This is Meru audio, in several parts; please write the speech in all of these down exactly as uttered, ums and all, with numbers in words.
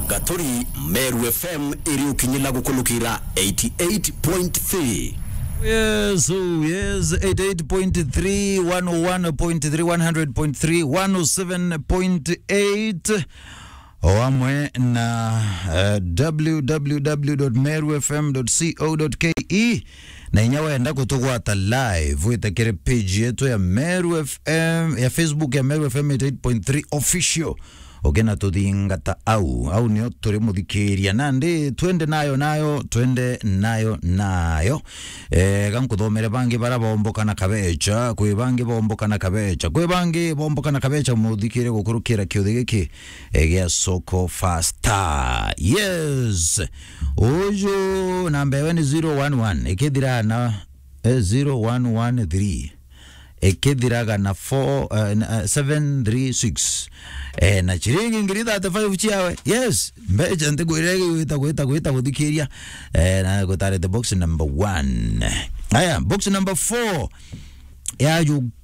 Gaturi, Meru F M iri ukinyila gukulukira eighty eight point three. Yes, oh, yes, eighty eight point three, one oh one point three, one hundred point three, one oh seven point eight, o amwe na, eh, w w w dot meru f m dot co dot k e, na inya wenda kutugwata live, wite kiri page yetu ya Meru F M, ya Facebook ya Meru F M eighty eight point three Official. Ukina tuthingata au, au nio turi muthikiria. Nandi twende nayo, nayo, twende nayo, nayo. Eh, ga nkuthomere bangi bara bomboka na kabecha, kwi bangi bomboka na kabecha, kwi bangi bomboka na kabecha, muthikire gukurukira kiuthi giki, eh, gia Soko Fasta. Yes. Uju namba ewe ni zero one one, ikithira na, eh, zero one one three. Ikithiraga na four, eh, na, eh, seven three six. Eh, na chiringi ngiri thirty-five chiawe. Yes, mbecha ntikwire gwita, gwita, gwita guthikiria. Eh, na gutarete box number one. Aya, box number four.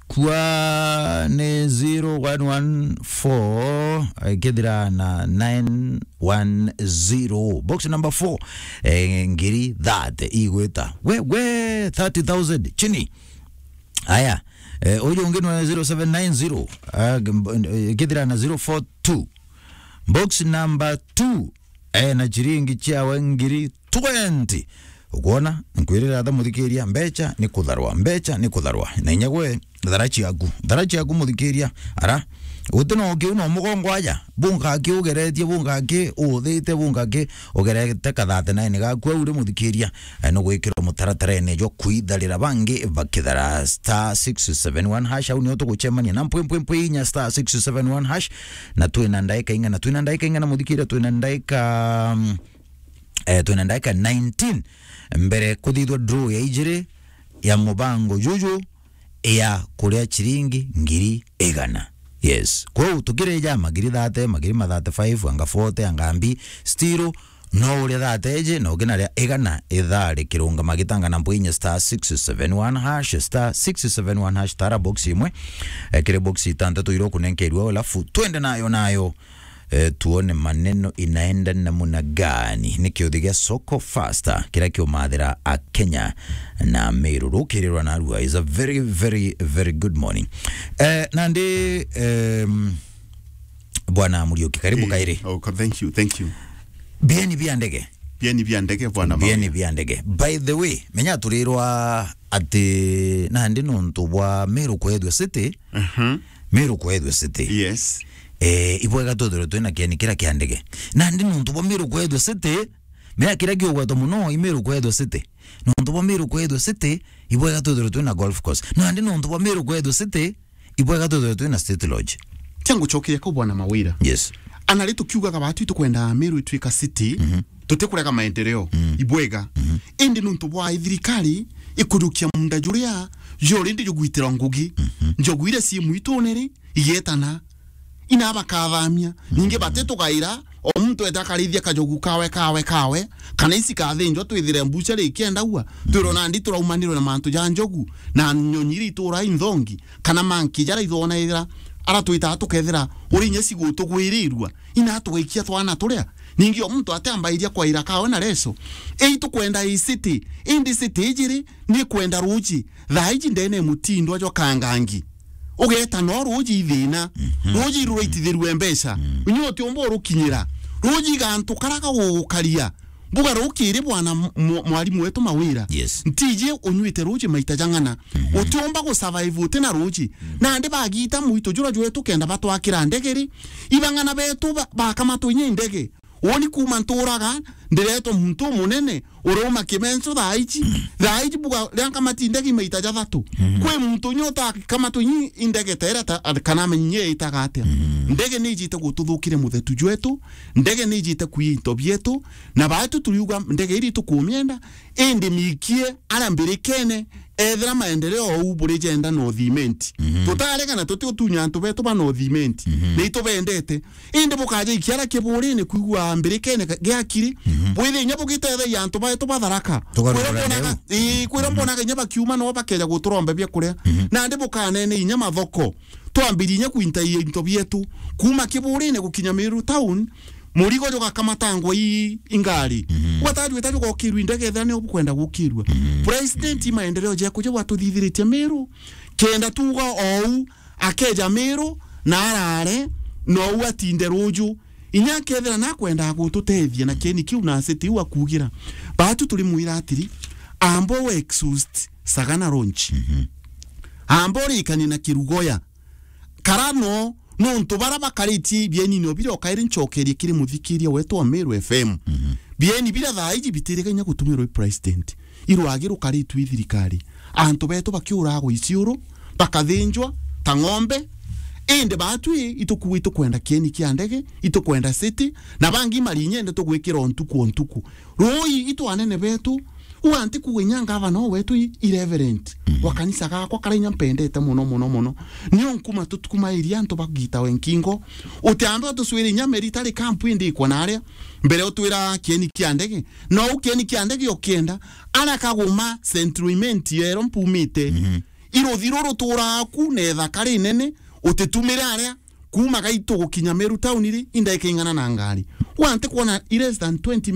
Yajukua ni zero one one four, ikithira na nine one zero. Box number four, eh, ngiri thirty igwita. We, we, thirty thousand chini. Aya, eh, uyu ungi ni zero seven nine zero, ah, g-, mb-, eh, ikithira na zero four two. Box number two, eh, na chiringi chiawe ngiri twenty. Ukwona? Nkwirira atha muthikiria, mbecha ni kutharwa, mbecha ni kutharwa. Na inya gwe, thara chiaku, thara chiaku muthikiria, ara, guti no kiu no mugongo aja, bunga ki ugeretie, bunga ki uthite, bunga ki ugerete ka thirty-nine gaku au ri muthikiria, eh, no gwikirwo mutaratarene jwa kwitharira bangi bakithara star six seven one hash, au nio tugucemania na mpwi, mpwi, mpwi inya star six seven one hash, na twina ndaika ing'ana, twina ndaika ing'ana muthikiria, twina ndaika, mm, eh, twina ndaika nineteen mbere kuthithwa draw ya ijiri ya mubango juju ya kuria chiringi ngiri igana. Yes. Kwou tukirija magiri thirty, magiri ma thirty-five, anga forty, anga mbi, still no uria thirty iji, na ukinaria igana ithaa rikirungama gitangana mpwi inya star six seven one hash, star six seven one hash, tara box imwe, eh, kiri box itantatu iria ukunenkerua, alafu twende nayo, nayo. Eh, tuone maneno inaenda namna gani. Ni kiuthi gia Soko Fasta kiria kiumathira a Kenya na Meru rukirirwa narua. Is a very, very, very good morning. Eh, nandi, em, Bwana Muriuki, karibu. Eh, kairi. Oh, ka-, thank you, thank you. Bieni bia ndege. Bieni bia ndege, bwana. Bieni Mawira. Bia ndege. By the way, menya turirwa ati nandi nontu bwa Meru kwethua city, Mhm. Meru kwethua city. Yes. Eh, ibwega twithirwe twina kieni kiria kia ndege. Nandi nontu bwa Meru kwethua city, mea kiria kiugwetwa muno i Meru kwethua city. Nontu bwa Meru kwethua city, ibwega twithirwe twina golf course. Nandi nontu bwa Meru kwethua city, ibwega twithirwe twina State Lodge. Tia ngucokeria kau, bwana Mawira. Yes. Ana ri tukiugaga batu itukwenda Meru itwika city, Mhm. tutikurega maendeleo, Mm. ibwega. Mhm. Indi nontu bwa thirikari ikujukia munda juria juri ndi jugwitira ngugi, Mhm. njogu iria cii mwitune ri, igetana. Ina bakathamia. Ningi Mhm. batitugaira, o muntu ete akarithia kajogu kawe, kawe, kawe, kana ici kathinjwa twithire mbuchari ikiendagua, twirwo Mhm. nandi turaumanirwe na mantu ja njogu, na nyonyi iria ituraa inthongi, kana manki jara ithonaira, ara twitaa tukethira uri inya cigutugwirirua, ina tugaikia twana turia. Ningi o muntu atambairia kwaira kawe na reso. Ei tukwenda i city, indi city ijiri ni kwenda ruji, thaa iji ndene mutindwa jwa kangangi. Ugeta no ruji ithina. Mhm. Ruji ruraitithirue mbeca. Mhm. Inya utiumba urukinyira. Ruji gantu kara gagugukaria. Mbuga rukiri bwana m-, m-, mwarimu wetu Mawira. Yes. Ntiji unyuite ruji maita jang'ana. Mhm. Utiumba gusurvive uti na ruji. Mhm. Nandi bagita mwitu jura jwetu kenda batwakira ndege ri. Ibang'ana betu ba-, bakamatwa inya indege. Woni kuma nturaga, ndiretwa muntu umunene, urauma Kimenso thaa iji. Thaa iji buga ria nkamati ndege maita jathatu. Mhm. Kwi muntu unya utakamatwa inyi indege ta iria ta, kana amenye itaga atia. Mhm. Ndege ni ijite gututhukire muthetu jwetu, ndege ni ijite kuia into bietu, na baetu turiuga ndege iri tukumienda, indi mikie ara mbirikene, ethira maendeleo ou buri jenda North Imenti. Mhm. Tutarega na tuti utunya antu betu ba North Imenti. Mhm. Ni itubendete. Indi bukaja ikiara kiburine kwigua mbirikene ka-, giakiri. Mhm. Bwithe inya bugitethagia antu baetu ba Tharaka. Tugarukira kwira mbonaga, ndeu. Ii, kwira Mhm. mbonaga inya bakiuma no bakeja guturombe bia kuria. Mhm. Nandi bukanene inya mathoko. Twambirie inya kuinta into bietu. Kuma kiburine gukinya Meru town, Murigo jugakamatangwa i, i ngari. Mhm. Gwatajwita jugokirwa i ndege, ethira nio bukwenda gukirwa. Mhm. President, i maendeleo jaku jau atuthithiritie Meru. Kenda tuga ou, akeja Meru, na arare, nou atinde ruju. Inya akethira nakwendaga gututethia na kieni kiu na city iu akugira. Batu turimwira atiri, amba u exhaust Sagana launch. Mhm. Amba urikanie na Kirugoya. Kara no, nontu bara bakaritie bieni no biri o kairi ncokerie kiri muthikiria wetu wa Meru F M. Mhm. Bieni bira thaa iji bitiriga inya gutumirwa i president. Irwagi rukaritwe i thirikari. Antu betu bakiuragwa i ciuru, bakathinjwa ta ng'ombe. Indi batu i, itukuwa itukwenda kieni kia ndege, itukwenda city, na bangi marinyende tugwikira o ntuku o ntuku. Rui itu anene betu, u anti kuga inya ngavana o wetu i, i reverend, mhm, wa kanisa gakwa kara inya mpendete mono, mono, mono. Nio nkuma tutukumairia antu bagita we nkingo. Utiambe utuswire inya meri itari kampu indi ikwa naria. Mbere utwira kieni kia ndege. No u kieni kia ndege ukienda, ara Kaguma Central Imenti yero mpumite. Mhm. Iruthi ruru turaga ku na ithaka rinene, utitumire aria, kuma Gaitu gukinya Meru town ri, indaika ing'ana na ngari. U anti kwona i less than twenty